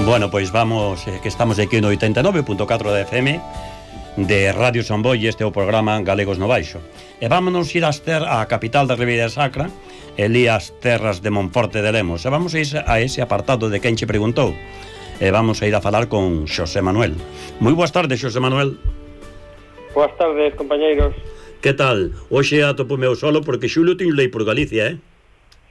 Bueno, pois vamos, que estamos aquí no 89.4 de FM de Radio Samboy, e este é o programa Galegos no Baixo. E vámonos ir á capital da Ribeira Sacra, elí as terras de Monforte de Lemos. E vamos a ir a ese apartado de quen che preguntou. E vamos a ir a falar con Xosé Manuel. Moi boas tardes, Xosé Manuel. Boas tardes, compañeiros. Que tal? Hoxe atopo meu solo porque Xulio tiño lei por Galicia,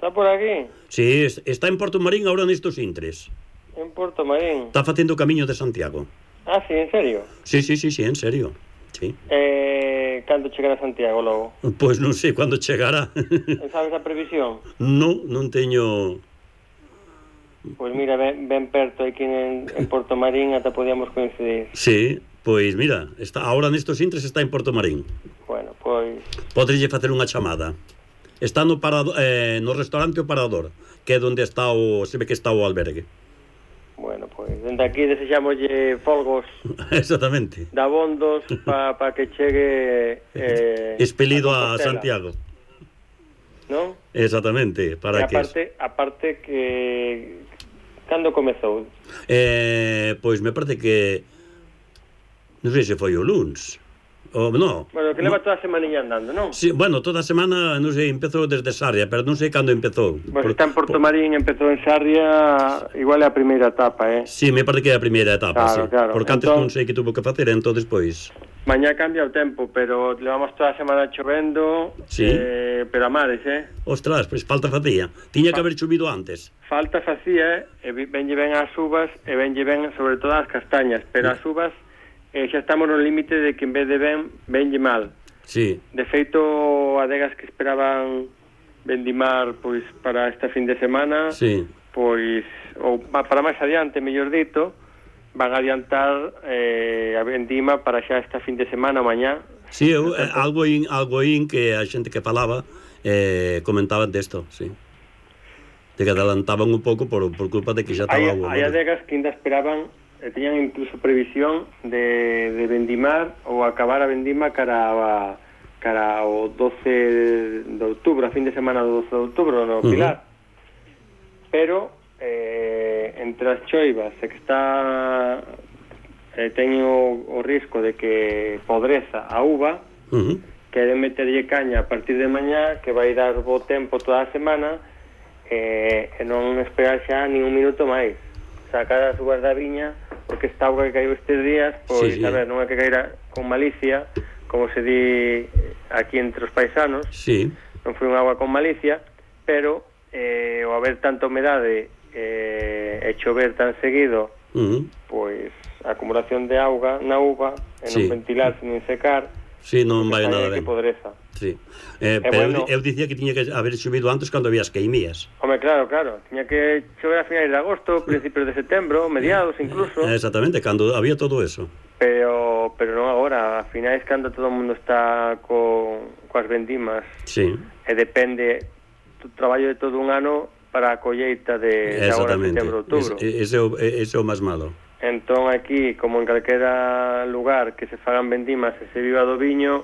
Está por aquí? Sí, está en Porto Marín agora nestos intres. En Porto Marín. Está facendo o camiño de Santiago. Ah, sí, en serio? Sí, en serio. Sí. Cando chegará a Santiago logo? Pois non sei cando chegará. Sabes a previsión? Non teño... Pois mira, ben perto aquí en Porto Marín, ata podíamos coincidir. Sí, pois mira, agora nestos intres está en Porto Marín. Bueno, pois... Podrelle facer unha chamada. Está no restaurante O Parador, que é onde está se ve que está o albergue. Bueno, pois, dende aquí desexámoslle folgos. Exactamente. Dabondos para que chegue... expelido a Santiago. Non? Exactamente, para que... Aparte que... Cando comezou? Pois me parece que... Non sei se foi o luns. No. Bueno, que leva toda a semaniña andando, non? Sí, bueno, toda a semana, non sei, empezou desde Sarria, pero non sei cando empezou. Pois está en Porto Marín, empezou en Sarria, igual é a primeira etapa, Sí, me parece que é a primeira etapa, claro, sí. Claro. Porque antes non sei que tuvo que facer, entón despois... Mañá cambia o tempo, pero levamos toda a semana chovendo, sí. Pero a mares, Ostras, pois falta facía. Tiña que haber chovido antes. Falta facía, e venlle ben as uvas, e venlle ben sobre todo as castañas, pero as uvas... xa estamos no límite de que en vez de venlle mal. Sí. De feito, adegas que esperaban vendimar pois para esta fin de semana, sí. Pois ou para máis adiante, mellor dito, van a adiantar a vendima para xa esta fin de semana, mañá. Sí, algo in que a xente que falaba comentaban desto, sí. De que adelantaban un pouco por culpa de que xa estaba... Hai adegas que ainda esperaban, teñan incluso previsión de vendimar ou acabar a vendima cara ao 12 de outubro, a fin de semana do 12 de outubro no Pilar. Pero entre as choivas e que está teño o risco de que podreza a uva, queren meterlle caña a partir de mañá, que vai dar bo tempo toda a semana, e non esperar xa nin un minuto máis, sacar as uvas da viña, porque esta auga que caiu estes días, pois, sí. A ver, non é que caíra con malicia, como se di aquí entre os paisanos, sí. Non foi unha auga con malicia, pero o haber tanta humedade e chover tan seguido, pois a acumulación de auga na uva, e non ventilarse nin secar, sí, non vai nada ben. Que podreza. Sí. Pero bueno, eu dicía que tiña que haber chovido antes cando había as queimías. Home, claro, tiña que chover a finais de agosto, principios de setembro, mediados incluso. Exactamente, cando había todo eso. Pero non agora, a finais cando todo o mundo está coas vendimas. Sí. E depende do traballo de todo un ano para a colleita de agora, setembro, outubro. Ese é o máis malo. Entón aquí, como en calquera lugar que se fagan vendimas e se viva do viño,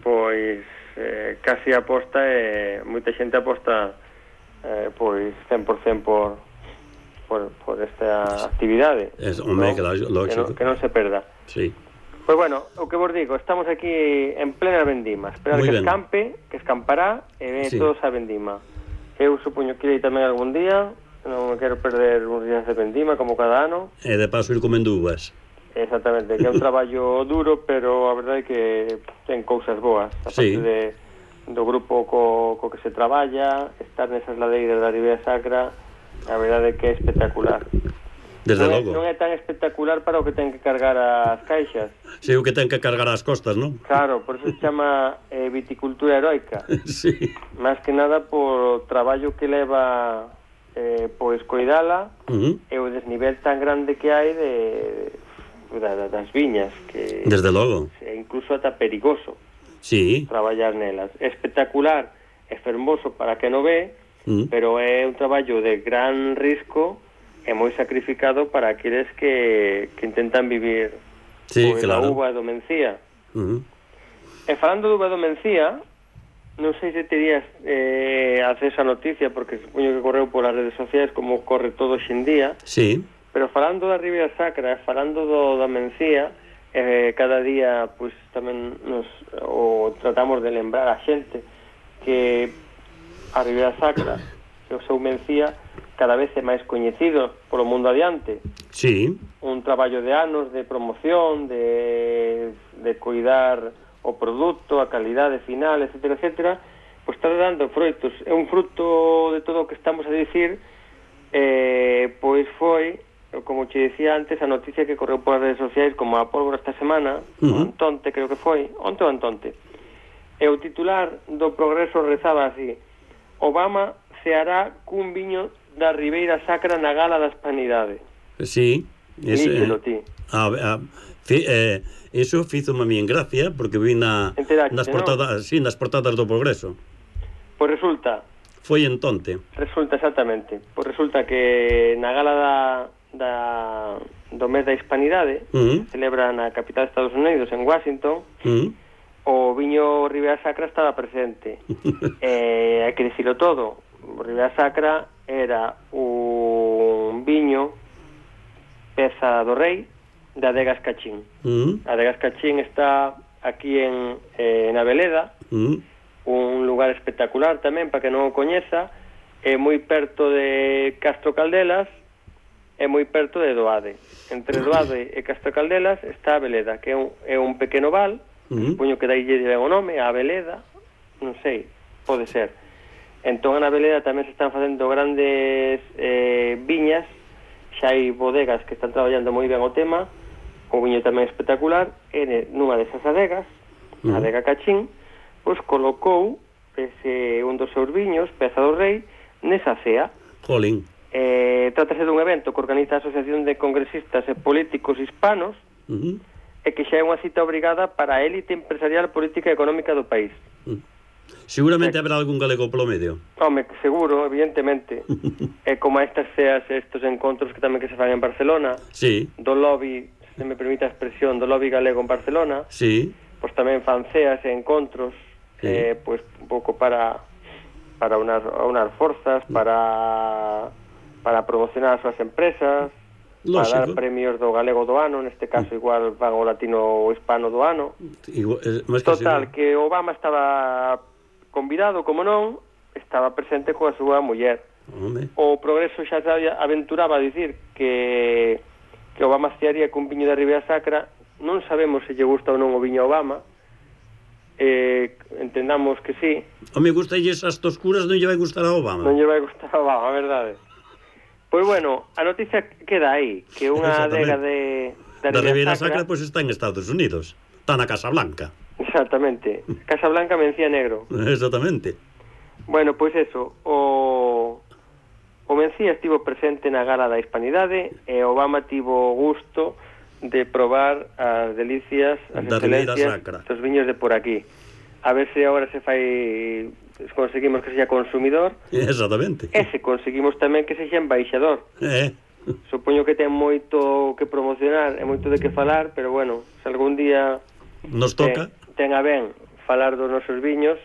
pois casi aposta moita xente aposta pois 100% por esta actividade, que non se perda. Sí. Pois bueno, o que vos digo, estamos aquí en plena vendima, esperar que escampe, que escampará e ven todos a vendima. Eu supoño que irei tamén algún día, non me quero perder uns días de vendima como cada ano. E de paso ir comendo uvas. Exactamente, que é un traballo duro, pero a verdade é que ten cousas boas. A parte do grupo co que se traballa, estar nesas ladeiras da Ribeira Sacra, a verdade é que é espectacular. Desde logo. Non é tan espectacular para o que ten que cargar as caixas. Sí, o que ten que cargar as costas, non? Claro, por eso se chama viticultura heroica. Sí. Más que nada por o traballo que leva pois coidala e o desnivel tan grande que hai das viñas, que desde logo é incluso ata perigoso traballar nelas. É espectacular, é fermoso para que non ve, pero é un traballo de gran risco e moi sacrificado para aqueles que intentan vivir a uva do Mencía. E falando do uva do Mencía, non sei se terías acceso a noticia, porque supoño que correu polas redes sociais como corre todo hoxe en día. Sí. Pero falando da Ribeira Sacra, falando da Mencía, cada día pois tamén tratamos de lembrar a xente que a Ribeira Sacra, que o seu Mencía, cada vez é máis coñecido polo mundo adiante. Sí. Un traballo de anos de promoción, de cuidar o produto, a calidade final, etcétera, etcétera, pois está dando froitos. É un fruto de todo o que estamos a dicir, pois foi, como te decía antes, a noticia que correu polas redes sociais como a pólvora esta semana, o Antonte, creo que foi, onte o Antonte. E o titular do Progreso rezaba así: Obama ceará cun viño da Ribeira Sacra na Gala da Hispanidade. Sí. Líxelo ti. Eso fízome a mí en gracia, porque vi nas portadas, sí, nas portadas do Progreso. Pois resulta... Foi entonte. Resulta, exactamente. Pois resulta que na Gala do mes da Hispanidade, celebra na capital de Estados Unidos, en Washington, o viño Ribeira Sacra estaba presente. Hai que dicilo todo. O Ribeira Sacra era un viño peza do rei de Adegas Cachín. Adegas Cachín está aquí na Veleda, un lugar espectacular tamén, para que non o coñeza, é moi perto de Castro Caldelas, é moi perto de Doade. Entre Doade e Castro Caldelas está a Veleda, que é un pequeno val, supoño que daille ben o nome, a Veleda, non sei, pode ser. Entón, na Veleda tamén se están facendo grandes viñas, xa hai bodegas que están traballando moi ben o tema, o viño tamén espectacular, e nunha desas adegas, a adega Cachín, pois colocou un dos seus viños, peza do rei, nesa cea. Jolín. Trátase dun evento que organiza a Asociación de Congresistas e Políticos Hispanos, e que xa é unha cita obrigada para a élite empresarial, política e económica do país. Seguramente habrá algún galego polo medio. Home, seguro, evidentemente. É como estas ceas, estos encontros que tamén que se fan en Barcelona, sí, do lobby, se me permite a expresión, do lobby galego en Barcelona, sí, pois tamén fan ceas e encontros, sí, pois un pouco para unar forzas, para promocionar as súas empresas, lógico, para dar premios do galego do ano, neste caso igual van o latino o hispano do ano. Total, que Obama estaba convidado, como non, estaba presente coa súa muller. O Progreso xa aventuraba a dicir que Obama cearía cun viño da Ribeira Sacra. Non sabemos se lle gusta ou non o viño a Obama, entendamos que sí. Me gusta esas toscuras, non lle vai gustar a Obama. Non lle vai gustar a Obama, a verdade. Pois bueno, a noticia queda aí, que unha adega da Ribeira Sacra pois está en Estados Unidos, está na Casa Blanca. Exactamente, Casa Blanca Mencía Negro. Exactamente. Bueno, pois eso, o Mencía estivo presente na Gala da Hispanidade e Obama tivo gusto de probar as delicias, as excelencias dos viños de por aquí. A ver se agora se fai, conseguimos que sexa consumidor. Exactamente. E se conseguimos tamén que sexa embaixador. Supoño que ten moito que promocionar e moito de que falar, pero bueno, se algún día nos toca, ten a ben falar dos nosos viños,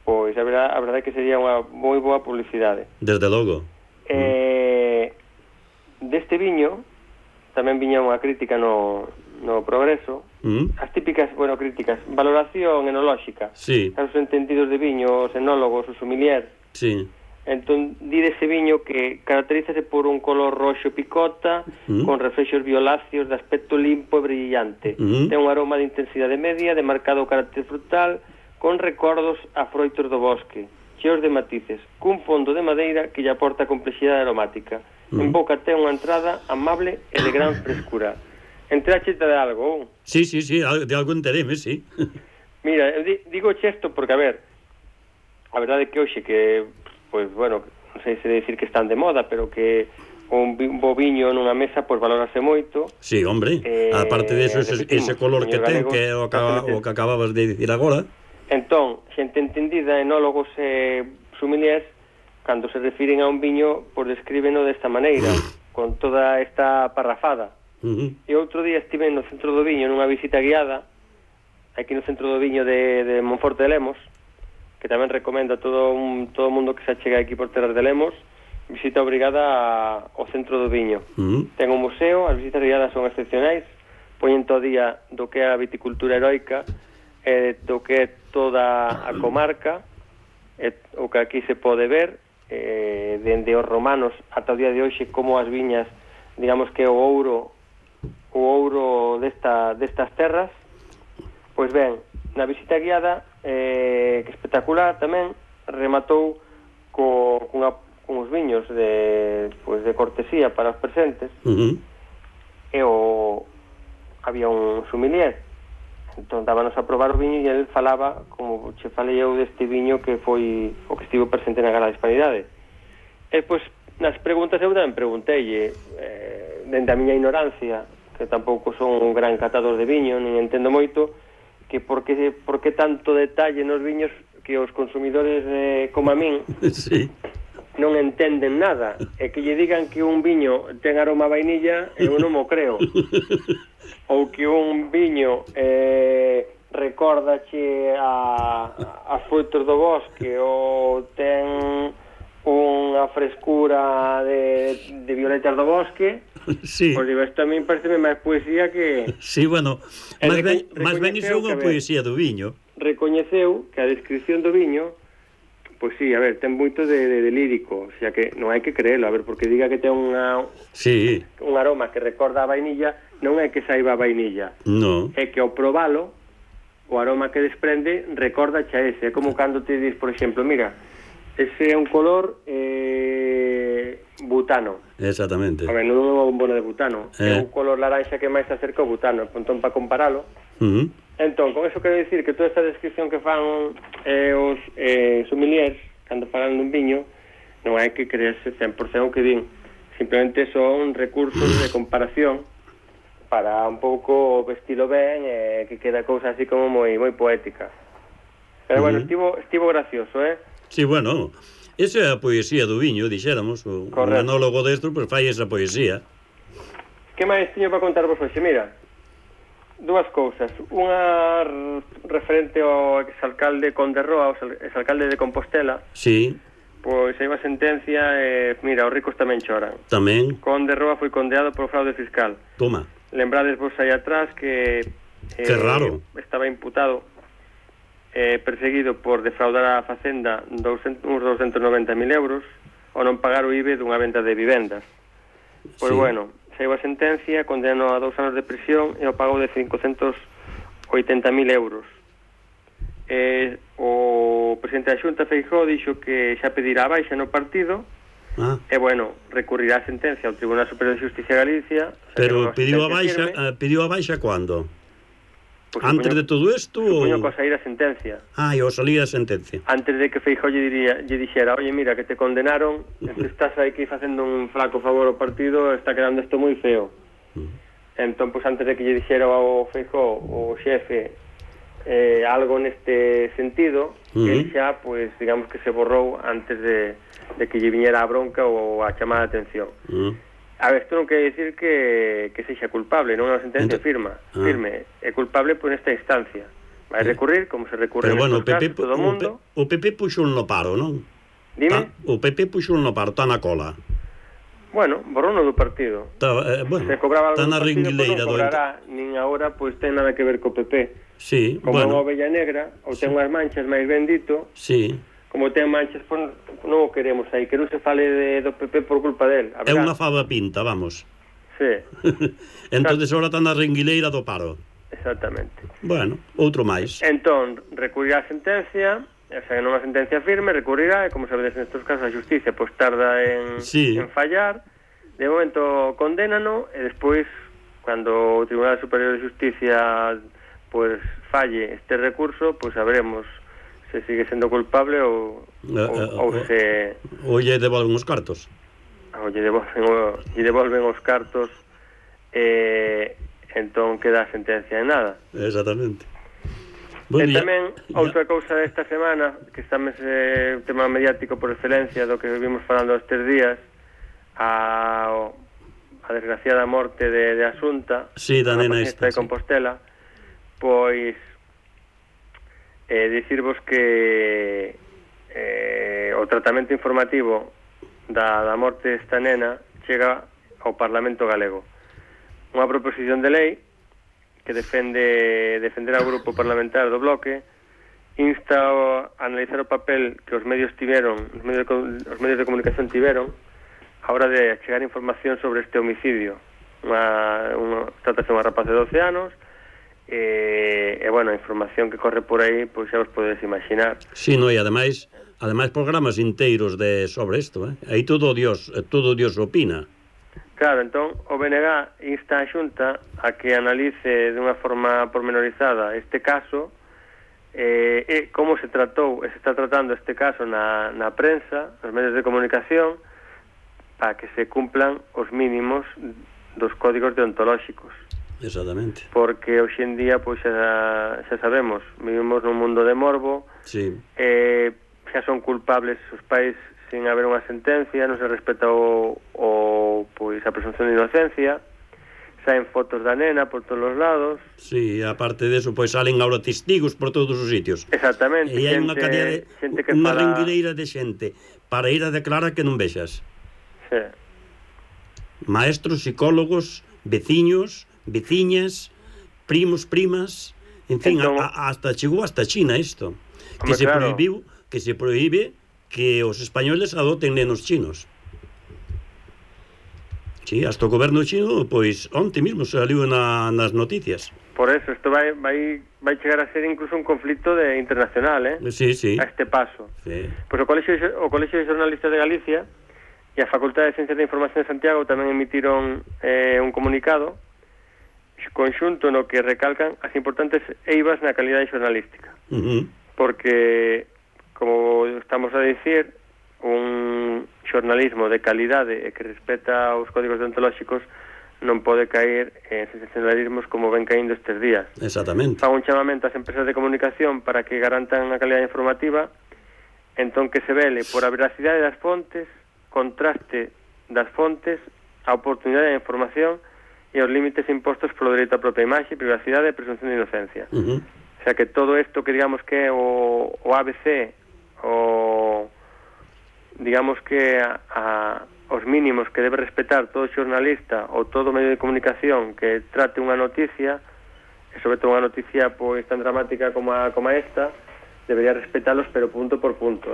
pois a verdade que sería unha moi boa publicidade. Desde logo. Deste viño tamén viña unha crítica no Progreso, as típicas, críticas, valoración enolóxica, sí, os entendidos de viño, os enólogos, os sommeliers. Sí. Entón, di dese viño que caracterízase por un color roxo picota, con reflexos violáceos de aspecto limpo e brillante. Ten un aroma de intensidade media, de marcado carácter frutal, con recordos a froitos do bosque, cheos de matices, cun fondo de madeira que lle aporta complexidade aromática. En boca ten unha entrada amable e de gran frescura. Entráchete de algo? Sí, de algo enteréme, sí. Mira, digo isto porque, a verdade que hoxe que, pois, bueno, non sei se decir que están de moda, pero que un boviño nunha mesa, pois, valorase moito. Sí, hombre, aparte de eso, ese color que ten, que é o que acababas de dicir agora. Entón, xente entendida, enólogos e sommeliers, cando se refiren a un viño, pois descríbeno desta maneira, con toda esta parrafada. E outro día estive no Centro do Viño nunha visita guiada, aquí no Centro do Viño de Monforte de Lemos, que tamén recomendo a todo o mundo que se achega aquí por terras de Lemos, visita obrigada ao centro do viño. Ten un museo, as visitas guiadas son excepcionais, poñen todo día do que é a viticultura heroica, do que é toda a comarca, o que aquí se pode ver, dende os romanos ata o día de hoxe, como as viñas, digamos que o ouro destas terras. Pois ben, na visita guiada, que espectacular tamén, rematou con os viños de cortesía para os presentes, e había un sommelier, entón dábanos a probar o viño e ele falaba, como che falei eu, deste viño que foi o que estivo presente na Gala da Hispanidade. E pois nas preguntas eu tamén preguntei, dende a miña ignorancia, que tampouco son un gran catador de viño, nin entendo moito, que por que tanto detalle nos viños que os consumidores como a min sí, non entenden nada, e que lle digan que un viño ten aroma a vainilla, eu non mo creo. Ou que un viño recordache as frutos do bosque, ou ten unha frescura de violetas do bosque. sí. Pois digo, isto a min parece máis poesía que... Sí, bueno, máis ben iso é unha poesía do viño. Recoñeceu que a descripción do viño, pois sí, a ver, ten moito de lírico, o sea que non hai que creelo, a ver, porque diga que ten un aroma que recorda a vainilla, non é que saiba a vainilla, no. É que ao probalo, o aroma que desprende recorda xa ese, é como cando te dis, por exemplo, mira, ese é un color butano. Exactamente. A ver, non é unha bombona de butano, é un color laranxa que máis se acerca ao butano, entón para comparalo. Entón, con eso quero dicir que toda esta descripción que fan os sommeliers cando falan dun viño, non hai que creerse 100% o que din, simplemente son recursos de comparación para un pouco vestido ben, que queda cousa así como moi poética. Pero bueno, estivo gracioso, Sí, bueno, esa é a poesía do viño, dixéramos, un anólogo destro, pois fai esa poesía. Que máis tiño para contarvos hoxe? Mira, dúas cousas. Unha referente ao exalcalde Conde Roa, o exalcalde de Compostela. Sí. Pois hai unha sentencia, mira, os ricos tamén choran. Tamén. Conde Roa foi condeado por fraude fiscal. Toma. Lembrades vos aí atrás que... que raro. Estaba imputado, perseguido por defraudar a Facenda uns 290.000 euros ou non pagar o IBE dunha venta de vivendas. Pois bueno, saiu a sentencia, condenou a 2 anos de prisión e o pago de 580.000 euros. O presidente da Xunta, Feijóo, dixo que xa pedirá a baixa no partido e, bueno, recurrirá a sentencia ao Tribunal Superior de Justicia de Galicia. Pero pediu a baixa cando? Pues antes de todo isto? Supoño que ao sair a sentencia. E ao salir a sentencia. Antes de que Feijóo lle dixera, oye, mira, que te condenaron, estás aquí facendo un flaco favor ao partido, está quedando isto moi feo. Entón, pues antes de que lle dixera ao Feijóo, o xefe, algo neste sentido, ele xa, pues, digamos que se borrou antes de que lle viñera a bronca ou a chamada de atención. A ver, isto non quere dicir que sexa culpable, non é unha sentencia firme, é culpable por esta instancia. Vai recurrir, como se recurre en estos casos, todo o mundo. O PP puxo no paro, non? Dime? O PP puxo no paro, está na cola. Bueno, borrono do partido. Se cobraba algo do partido, non cobrará, nin agora, pois ten nada que ver co PP. Sí, como unha ovella negra, ou ten unhas manchas máis ben dito. Sí. Como ten manchas, pois non o queremos aí, que non se fale do PP por culpa del. É unha fava pinta, vamos. Sí. Entonces ahora está na renguileira do paro. Exactamente. Bueno, outro máis. Entón, recurrirá a sentencia, o sea, non a sentencia firme, recurrirá, e como sabedes nestes casos a xusticia pois tarda en fallar. De momento condénano, e despois, cando o Tribunal Superior de Justicia pois falle este recurso, pois saberemos se sigue sendo culpable ou se... Ou lle devolven os cartos. Ou lle devolven os cartos, entón queda a sentencia de nada. Exactamente. E tamén, outra cousa desta semana, que está un tema mediático por excelencia do que vimos falando estes días, a desgraciada morte de Asunta, da nena esta, de Compostela, pois dicirvos que o tratamento informativo da morte desta nena chega ao Parlamento galego. Unha proposición de lei que defenderá o grupo parlamentar do Bloque, insta a analizar o papel que os medios de comunicación tiveron a hora de chegar información sobre este homicidio. Trátase unha rapaz de 12 anos e bueno, a información que corre por aí, pois xa vos podedes imaginar. Sí, no, e ademais programas inteiros sobre isto, aí todo Dios opina. Claro, entón o BNG insta a Xunta a que analice de unha forma pormenorizada este caso e como se está tratando este caso na prensa, nos medios de comunicación, para que se cumplan os mínimos dos códigos deontolóxicos. Exactamente. Porque hoxe en día, pois xa sabemos, vivimos nun mundo de morbo, sí. Xa son culpables os pais sin haber unha sentencia, non se respeta pois a presunción de inocencia, saen fotos da nena por todos os lados. Sí, aparte deso, pois salen agora testigos por todos os sitios. Exactamente. E hai unha cadea unha ringueira de xente para ir a declarar que non vexas. Sí. Maestros, psicólogos, veciños, veciñas, primos, primas, en fin, entón, chegou hasta China isto, que se prohíbe que os españoles adoten nenos chinos. Sí, hasta o goberno chino, pois, onte mismo saliu nas noticias. Por eso, isto vai chegar a ser incluso un conflito internacional, Sí, sí. A este paso. Sí. Pois o Colexio de Xornalistas de Galicia e a Facultade de Ciencias de Información de Santiago tamén emitiron un comunicado conxunto no que recalcan as importantes eivas na calidade xornalística. Porque, como estamos a dicir, un xornalismo de calidade e que respeta os códigos deontolóxicos non pode caer en sensacionalismos como ven caíndo estes días. Exactamente. Fan un chamamento ás empresas de comunicación para que garantan a calidade informativa, entón que se vele por a veracidade das fontes, contraste das fontes, a oportunidade de información e os límites impostos polo dereito á propia imaxe, privacidade e presunción de inocencia. O sea, que todo isto que digamos que é o ABC, digamos que os mínimos que debe respetar todo xornalista ou todo medio de comunicación que trate unha noticia, e sobre todo unha noticia pois tan dramática como esta, debería respetalos, pero punto por punto.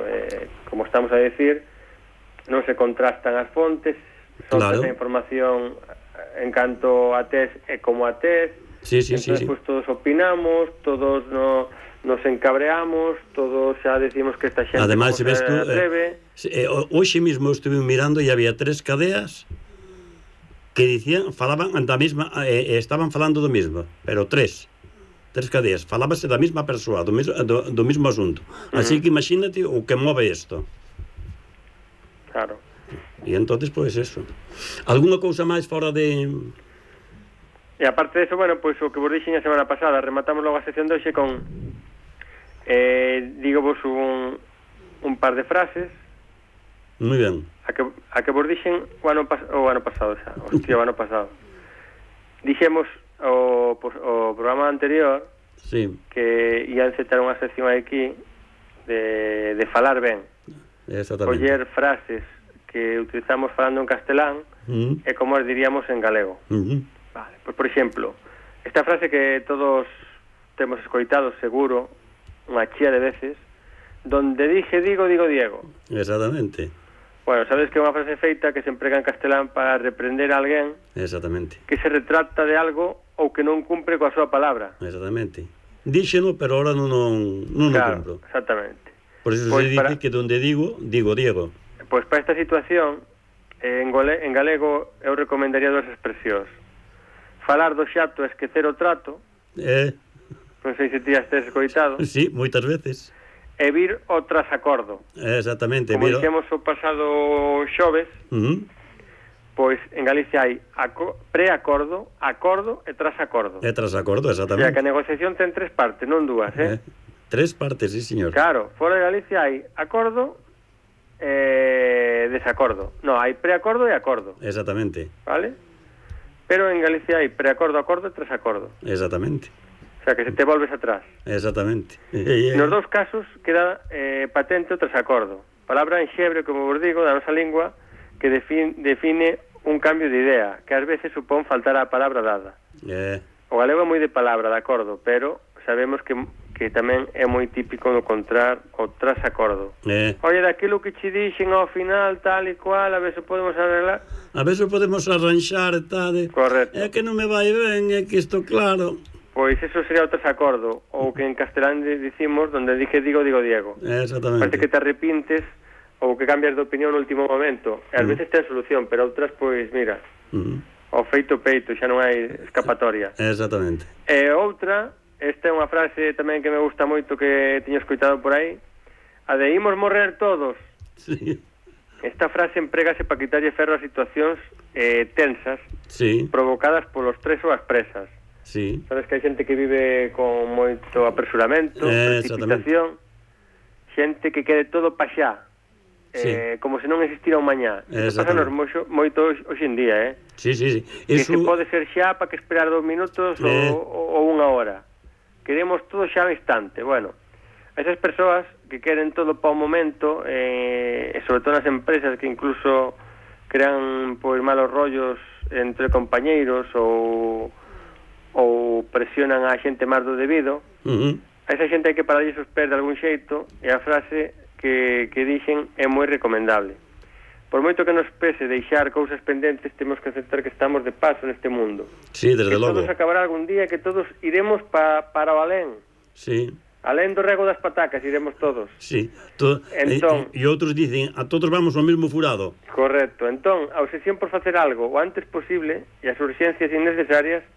Como estamos a decir, non se contrastan as fontes, soltas a información en canto a test e como a test. Sí. Pues todos opinamos, todos nos encabreamos, todos xa decimos que esta xente además, se atreve. Hoxe mismo estuve mirando e había 3 cadeas que falaban da mesma, estaban falando do mesmo, pero 3 cadeas, falábase da mesma persoa, do mesmo asunto. Así que imagínate o que move isto. Claro. E entonces, pois eso. Algúna cousa máis fora de... E aparte de eso, bueno, pois o que vos dixen a semana pasada, rematamos logo a sección de hoxe con digo vos un par de frases. Moi ben. A que vos dixen o ano pasado xa, o ano pasado. Dixemos o programa anterior, sí, que ia encetar unha sección aquí de falar ben. Exactamente. Coller frases que utilizamos falando en castelán e como as diríamos en galego. Vale, pues por exemplo, esta frase que todos temos escoitado seguro unha chía de veces, donde dije digo, digo Diego. Exactamente. Bueno, sabes que é unha frase feita que se emprega en castelán para reprender a alguén. Exactamente. Que se retrata de algo ou que non cumpre coa súa palabra. Exactamente. Díxeno, pero ahora non claro, cumplo. Exactamente. Por eso pues se dice que donde digo, digo Diego. Pois para esta situación, en galego eu recomendaría dúas expresións. Falar do xato e esquecer o trato. Non sei se ti has escoitado. Sí, moitas veces. E vir o trasacordo. Exactamente. Como dixemos o pasado xoves, pois en Galicia hai preacordo, acordo e trasacordo. E trasacordo, exactamente. O sea, que a negociación ten 3 partes, non 2, 3 partes, sí, señor. Claro, fora de Galicia hai acordo e desacordo. No, hai preacordo e acordo. Exactamente. Vale? Pero en Galicia hai preacordo, acordo e trasacordo. Exactamente. O sea, que se te volves atrás. Exactamente. Nos dous casos queda patente o trasacordo. Palabra en xebre, como vos digo, da nosa lingua, que define un cambio de idea, que ás veces supón faltar a palabra dada. O galego é moi de palabra, de acordo, pero sabemos que tamén é moi típico no encontrar o trasacordo. Oye, daquilo que che dixen ao final, tal e cual, a ver se podemos arreglar. A ver se podemos arranxar, tal. Correcto. É que non me vai ben, é que isto claro. Pois eso sería o trasacordo, ou que en castelán dicimos, donde dije digo, digo Diego. Exactamente. Parece que te arrepintes ou que cambias de opinión no último momento. E ás veces ten solución, pero outras, pois, mira, o feito peito, xa non hai escapatoria. Exactamente. E outra, esta é unha frase tamén que me gusta moito, que teño escoitado por aí, a de imos morrer todos. Sí. Esta frase empregase para quitarlle ferro a situacións tensas, provocadas polos tres ou as presas. Sí. Sabes que hai xente que vive con moito apresuramento, precipitación, xente que quede todo pa xa, como se non existira un mañá. Isto pásanos moito hoxe en día, Sí. Que se pode ser xa para que esperar 2 minutos ou 1 hora. Queremos todo xa ao instante. Bueno, esas persoas que queren todo para o momento, e sobre todo nas empresas que incluso crean pois malos rollos entre compañeiros ou presionan a xente máis do debido, a esa xente hai que pararlle os pés de algún xeito, e a frase que dixen é moi recomendable. Por moito que nos pese deixar cousas pendentes, temos que aceptar que estamos de paso neste mundo. Sí, desde logo. Que todos acabará algún día, que todos iremos para o alén. Sí. Alén do rego das patacas iremos todos. Sí. Entón, e outros dicen, a todos vamos ao mesmo furado. Correcto. Entón, a obsesión por facer algo o antes posible e as urxencias innecesarias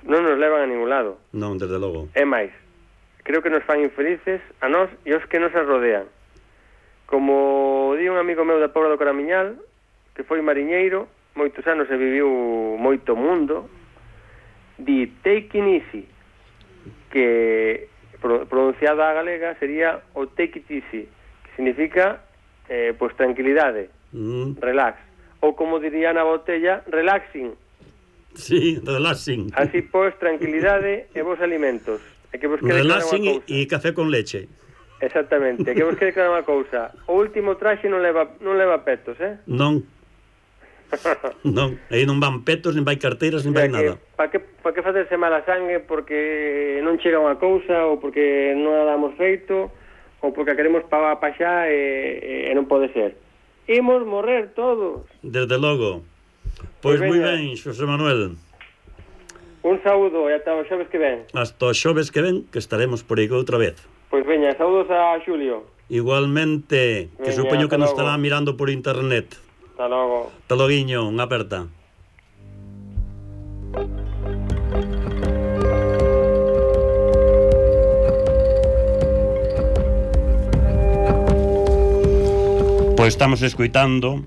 non nos levan a ningún lado. Non, desde logo. É máis, creo que nos fan infelices a nós e os que nos rodean. Como di un amigo meu da Pobra do Caramiñal, que foi mariñeiro moitos anos e viviu moito mundo, di take it easy, que pronunciada a galega sería o take it easy, que significa pois tranquilidade, relax, ou como diría na botella, relaxing. Sí, relaxing. Así pois, tranquilidade e vos alimentos. E que vos quede relaxing e café con leche. Exactamente, que vos quede clara unha cousa. O último traxe non leva petos, Non. Non, aí non van petos, nin vai carteiras, nin vai nada. Para que facerse mala sangue porque non chega unha cousa, ou porque non a damos feito, ou porque a queremos pa xa e non pode ser. Imos morrer todos. Desde logo. Pois moi ben, Xosé Manuel. Un saúdo e ata o xoves que ven. Hasta o xoves que ven, que estaremos por aí outra vez. Pois veña, saúdos a Xulio. Igualmente, que supoño que nos estará mirando por internet. Hasta logo. Hasta loguiño, unha aperta. Pois estamos escoitando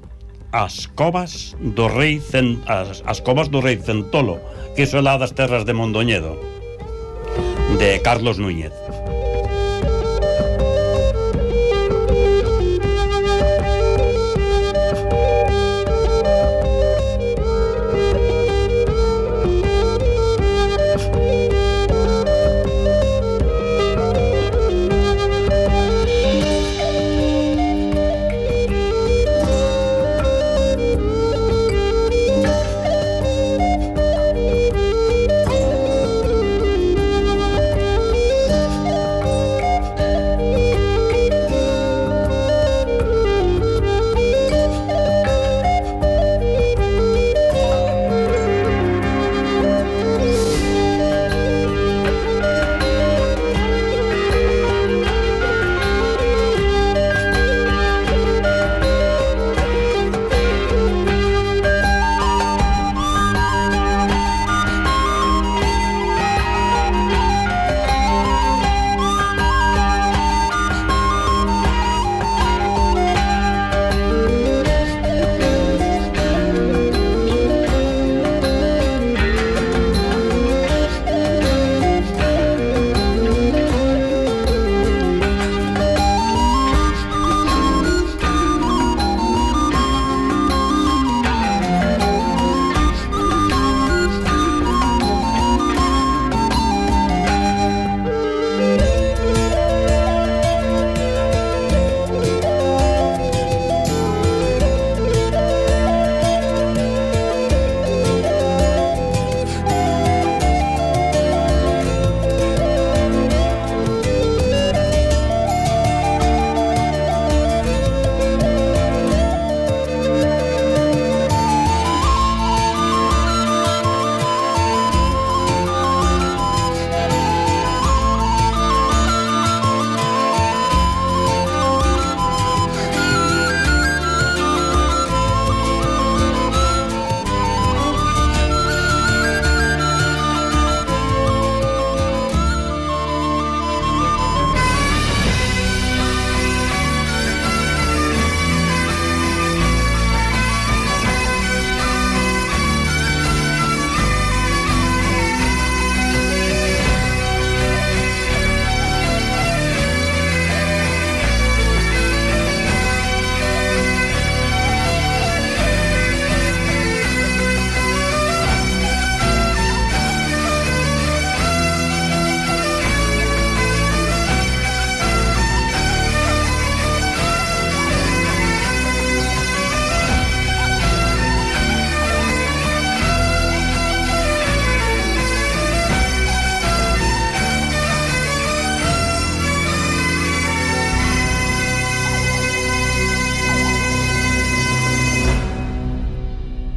as covas do rei as covas do rei Centolo, que son lá das terras de Mondoñedo, de Carlos Núñez.